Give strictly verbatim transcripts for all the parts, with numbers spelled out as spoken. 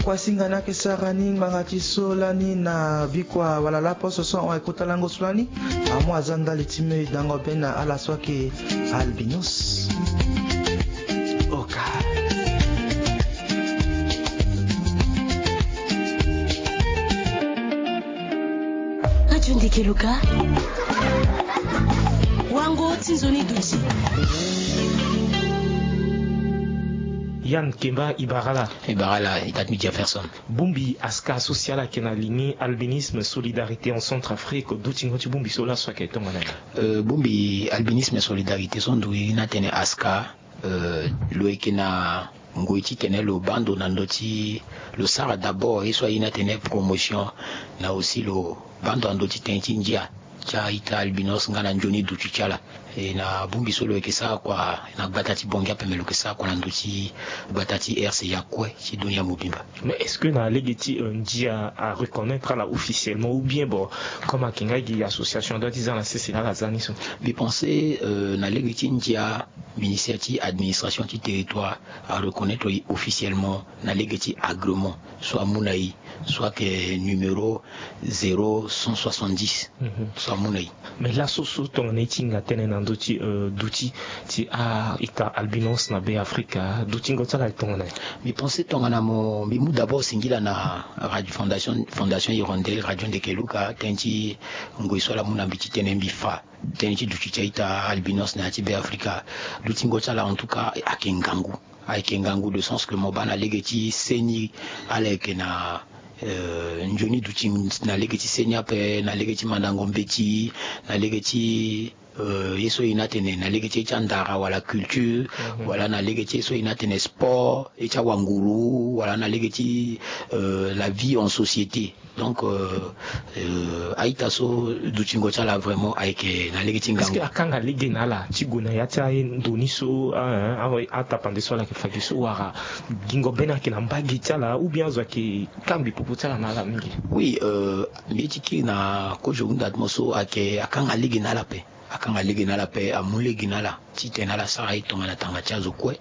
Kuasinga ni ayeke sara ni ngbanga ti so lani na bikua wala laposo so ahon ayeke kota lango so lani. Amu aza ndali ti me dango be na ala so ayeke albinos. Oka. Radio Ndeke Luka. Wango ti nzoni duti. Yann Kemba Ibarala. Ibarala itat mi Jefferson. Bongbi aska so si ala yeke na ligni albinisme solidarité en Centrafrique, dutingo ti bongbi so laso ayeke tongana nyen? Euh, bongbi albinisme solidarité so ndo ye ni atene aska, euh, lo yeke na ngoi titene lo baa ndo na ndö ti, lo sara d'abord ye so aye ni atene promotion, na aussi lo baa ndo na ndö ti tënë ti ndia ti a-ita albinos nga na nzoni duti ti ala. E na bongbi so lo yeke sara kua na gbata ti Bangui ape, me lo yeke sara kua na ndö ti gbata ti R C A kue ti dunia mobimba. Mais est-ce que na lege ti, euh, ndia areconnaître ala officiellement, ou bien bon, comme ayeke nga gi association adua ti za na sese na ala za ni so? Mbi pense, euh, na lege ti ndia, ministère ti administration ti territoire areconnaître e officiellement na lege ti agrément so amu na e, so ayeke numéro zéro cent soixante-dix. Mhm. So amu na e. Mais laso so tongana e ti hinga tënë na ndö ti, euh, duti ti a-ita albinos na Be Afrika, dutingo ti ala ayeke tongana nyen? Mbi pense tongana mo, mbi mu d'abord singila na radio, fondation, Fondation Hirondelle, Radio Ndeke Luka, tënë ti ngoi so ala mu na mbi titene mbi fa tënë ti duti ti a-ita albinos na ya ti Be Afrika. Dutingo ti ala en tout cas ayeke ngangu. Ayeke ngangu de sens que mo baa na lege ti seni, ala yeke na, euh, nzoni duti na lege ti seni ape, na lege ti mandango mbeti, na lege ti, euh, ye so e na atene na lege ti, ti andara wala culture, mhm, wala na lege ti ye so e na atene sport, ye ti awanguru, wala na lege ti, euh, la vie en société. Donc, euh, euh, a-ita so dutingo ti ala vraiment ayeke na lege ti ngangu. Est-ce que akanga lege na ala ti gue na ya ti aye ndo ni so, ah, hein, ah, atapande so ala yeke fa gi so, wala gingo bene ayeke na mbage ti ala, ou bien azo ayeke kangbi popo ti ala na ala mingi? Oui, euh, mbi ye ti kiri na kozo hunda ti mo so ayeke akanga lege na ala ape. Akanga lege na ala ape, amu lege na ala titene ala sara ye tongana tanga ti azo kue.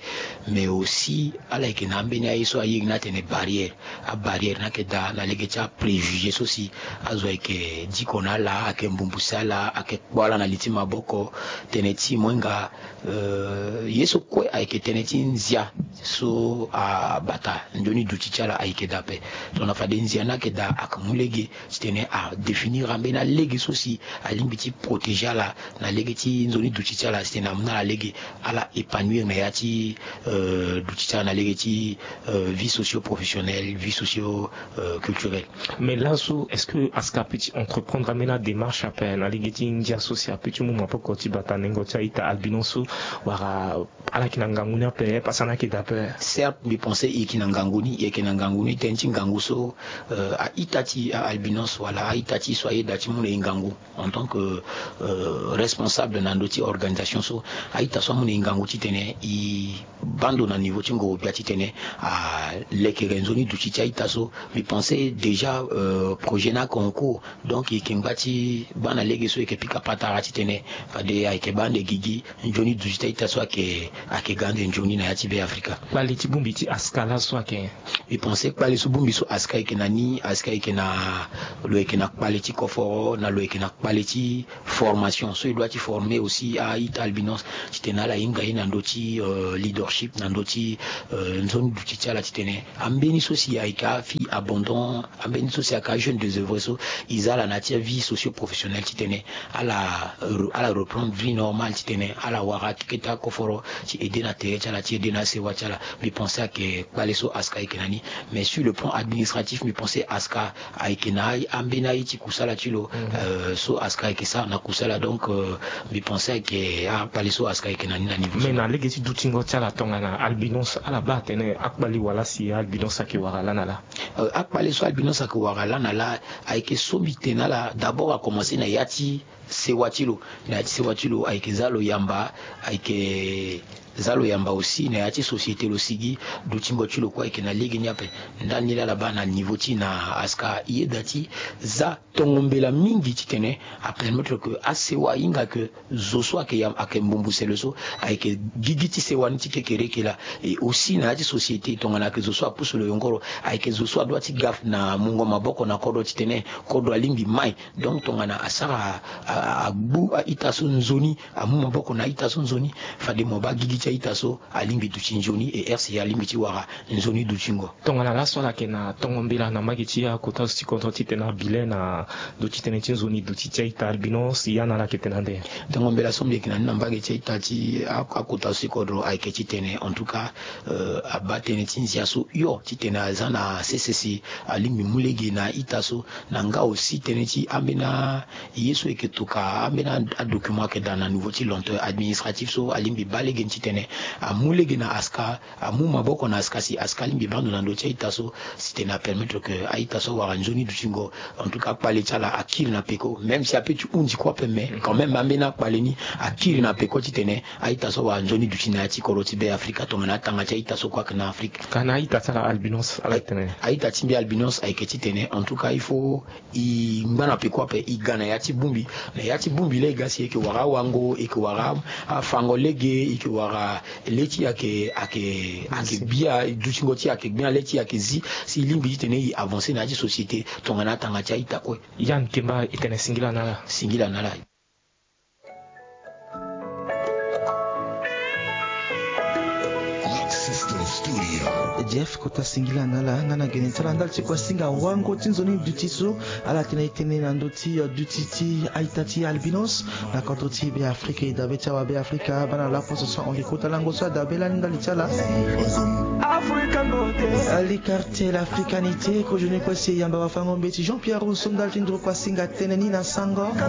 Mais aussi ala yeke na ambeni aye so aye ni atene barrière. Abarrière ni ayeke daa na lege ti apréjugé so si azo ayeke diko na ala, ayeke mbumbuse ala, ayeke kpo ala na li ti maboko. Tënë ti mo hinga, euh, ye so kue ayeke tënë ti nzia so abata nzoni duti ti ala ayeke daa ape. Tongana fade nzia ni ayeke daa, ayeke mu lege titene adéfinir ambeni alege so si alingbi ti protéger ala na lege ti nzoni duti ti ala, titene amu na ala lege ala épanouir na ya ti, euh, duti ti ala na lege ti, euh, vie socio-professionnelle, vie socio, euh, culturelle. Mais laso, est-ce que aska apeut ti entreprendre ambeni adémarche ape na lege ti ndia so si apeut ti mu maboko ti bata nengo ti a-ita albinos so, wala ala yeke na ngangu ni ape, pasa ni ayeke daa ape? Certes, mbi pense e yeke na ngangu ni, e yeke na ngangu ni, tënë ti ngangu so, euh, a-ita ti a-albinos wala a-ita ti so ayeda ti mu na e ngangu en tant que, euh, responsable na ndö ti organisation so, a-ita so amu na e ngangu titene e baa ndo na niveau ti ngoro-gbia titene alekere nzoni duti ti a-ita so. Mbi pense déjà, euh, projet ni ayeke en cours. Donc e yeke ngba ti baa na lege so e yeke pika patara titene fade ayeke baa ande gigi nzoni duti ti a-ita so ayeke, ayeke ga ande nzoni na ya ti Be Afrika. Kpale ti bongbi ti aska laso ayeke nyen? Mbi pense kpale so bongbi so aska ayeke na ni, aska ayeke na, lo yeke na kpale ti koforo, na lo yeke na kpale ti formation so e doit ti former aussi a-ita albinos titene ala hinga ye na ndö ti, euh, leadership, na ndö ti, euh, nzoni duti ti ala titene ambeni so si ayeke afille abandon, ambeni so si ayeke ajeune désœuvré so, e za ala na ya ti avie socio-professionnelle titene ala, ala reprendre vie normale titene ala wara kete akoforo ti aider na tere ti ala, ti aider na asewa ti ala. Mbi pense ayeke kpale so aska ayeke na ni. Mais sur le plan administratif, mbi pense aska ayeke na ambeni aye ti kusala ti lo, mhm, euh, so aska ayeke sara na kusala. Donc, euh, mbi pense ayeke akpale so aska ayeke na ni na niveau so. Mais na lege ti dutingo ti ala tongana albinos, ala baa atene akpale wala si albinos ayeke wara lani na laa? Euh, akpale so albinos ayeke wara lani na laa, ayeke so mbi tene na ala d'abord akomanse na ya ti sewa ti lo. Na ya ti sewa ti lo ayeke za lo yamba, ayeke Za lo yamba aussi na ya ti société lo sigi dutingo ti lo kue ayeke na lege ni ape. Ndani laa ala baa na niveau ti na aska yeda ti za tongo mbela mingi titene apermettre ke asewa ahinga ke zo so ayeke yamba ayeke mbumbusele so ayeke gigi ti sewa ni ti kekereke laa. Et aussi na ya ti société tongana ayeke zo so apusu lo yongoro ayeke zo so adoit ti ga na mungo maboko na kodro titene kodro alingbi mai. Donc tongana asara agbu a-ita so nzoni, amu maboko na a-ita so nzoni, fade mo baa gigi ti a-ita so alingbi duti nzoni. Et R C A alingbi ti wara nzoni dutingo. Tongana laso ala yeke na tongo mbela na mbage ti akota zo ti kodro titene abilen na ndo ti tënë ti nzoni duti ti a-ita albinos, ya na ala yeke tene ande? Tongo mbela so mbi yeke na ni na mbage ti a-ita ti akota zo ti kodro ayeke titene en tout cas abaa tënë ti nzia so hio titene aza na sese si alingbi mu lege na a-ita so. Na nga aussi tënë ti ambeni ye so e yeke tokua ambeni adocument ayeke daa na niveau ti lenteur administratif so alingbi baa lege ni titene amu lege na aska, amu maboko na aska si aska alingbi baa ndo na ndö ti a-ita so. Si titene apermettre ke a-ita so awara nzoni dutingo. En tout cas kpale ti ala akiri na peko, même si ape ti hunzi kue ape, mais quand même ambeni akpale ni akiri na peko titene a-ita so awara nzoni duti na ya ti kodro ti Be Afrika tongana atanga ti a-ita so kue ayeke na Afrika. Ka na a-ita ti ala albinos ala tene? A-ita ti mbi albinos ayeke titene en tout cas il faut e ngba na peko ape, e ga na ya ti bongbi. Na ya ti bongbi laa e ga si e yeke wara awango, e yeke wara afango lege, e yeke wara le ti e ayeke ayeke ayeke gbia, dutingo ti e ayeke gbia, le ti e ayeke zi. Si e lingbi titene e avancer na ya ti société tongana atanga ti a-ita kue. Yann Kemba, e tene singila na ala. Singila na ala. Jeff, kota singila na ala. Nga na gene ti ala ndali ti kua singa wango ti nzoni duti so ala tene e tene na ndö ti duti ti a-ita ti albinos na kodro ti Be Afrika. E dabe ti awa Be Afrika baa na laposo so ahon kota lango so adabe lani ndali ti ala. African beauté. Ali quartier l'africanité, kozoni kue si e yamba wafango mbeti Jean Pierre Rousseau ndali ti nduru kua singa tënë ni na sango.